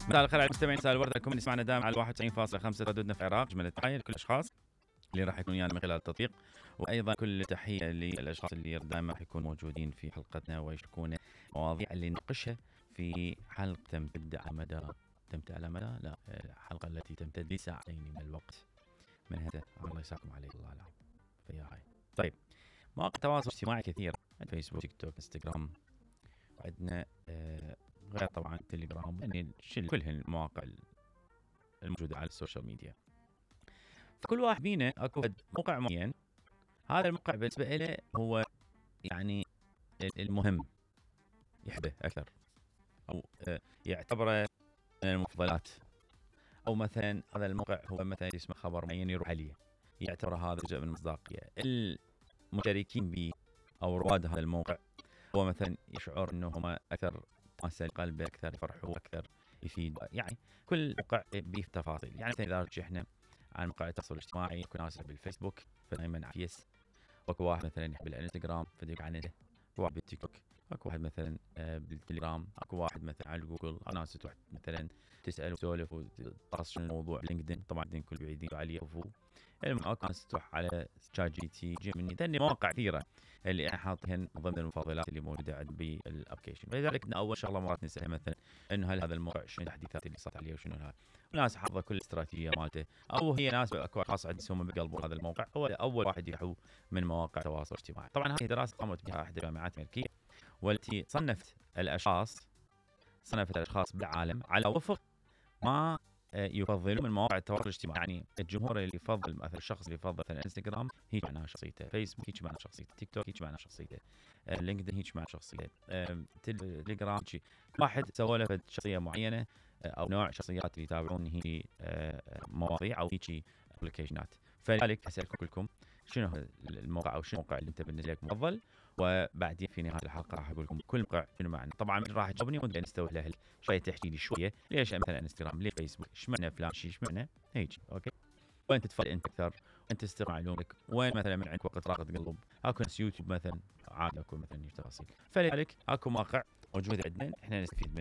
مساء الخير على المستمعين، مساء الورد لكم اللي يسمعنا دائما على 91.5 ردودنا في العراق. جمله تحيه لكل الاشخاص اللي راح يكونوا ويانا من خلال التطبيق، وايضا كل تحيه للاشخاص اللي دائما راح يكونوا موجودين في حلقتنا ويشاركونا مواضيع اللي نناقشها في حلقه تمتد على مدى الحلقه التي تمتد لساعتين من الوقت. من هذا الله يساكم عليه الله العظيم فيا هاي. طيب، مواقع التواصل الاجتماعي كثير، فيسبوك، تيك توك، انستغرام، وعندنا غير طبعا تليجرام، يعني كل المواقع الموجوده على السوشيال ميديا. فكل واحد بينا اكو موقع معين، هذا الموقع بالنسبه له هو يعني المهم، يحبه اكثر او يعتبره من المفضلات، او مثلا هذا الموقع هو مثلا يسمع خبر معين يروح عليه، يعتبر هذا جزء من المصداقيه. المشاركين به او رواد هذا الموقع هو مثلا يشعر انه هم اكثر ماسة قلبه، اكثر يفرحوا، اكثر يفيد. يعني كل موقع به تفاصيل. يعني مثلا اذا رجعنا عن مواقع التواصل الاجتماعي، يكون ناس بالفيسبوك فدائما على فيس، واكو واحد مثلا يحب الانستغرام فديك عنده، اكو واحد بالتيك توك، اكو واحد مثلا بالتليجرام، اكو واحد مثلا على جوجل، ناس تروح مثلا تسال وتسولف وتطرش الموضوع. لينكدين طبعا الكل بعيدين عليه، اكو ناس تروح على شات جي تي، جيميني، ثاني مواقع كثيره اللي انا حاطهن ضمن المفضلات اللي موجوده عندي بالابلكيشن. فلذلك اول شغله مرات نسالها مثلا انه هل هذا الموقع شنو التحديثات اللي صارت عليه وشنو هذا. الناس حافظه كل الاستراتيجيه مالته، او هي ناس اكو خاص عندهم بقلبوا هذا الموقع هو اول واحد يروحوا من مواقع التواصل الاجتماعي. طبعا هذه دراسه قامت بها احد الجامعات الامريكيه، والتي صنفت الاشخاص بالعالم على وفق ما يفضلون من مواقع التواصل الاجتماعي. يعني الجمهور اللي يفضل مثلا الشخص اللي يفضل مثلا انستغرام هيك معناها شخصيته، فيسبوك هيك معناها شخصيته، تيك توك هيك معناها شخصيته، لينكدين هيك معناها شخصيته، تليجرام هيك. واحد سوى له شخصيه معينه او نوع شخصيات اللي يتابعون هي مواضيع او هيك ابلكيشنات. فلذلك اسالكم كلكم شنو الموقع او شنو الموقع اللي انت بالنسبه لك مفضل، وبعدين في نهايه الحلقه راح اقول لكم كل موقع شنو معنى. طبعا راح تجاوبني وانت نستوي له شويه، تحكي لي شويه ليش مثلا انستغرام، ليش فيسبوك، ايش معنى فلان شيء، ايش معنى هيك. اوكي، وين تتفضل انت اكثر، وين تستمع معلوماتك، وين مثلا من عندك وقت راقه قلب. اكو ناس يوتيوب مثلا عاد اكو مثلا تفاصيل. فلذلك اكو مواقع موجوده عندنا احنا نستفيد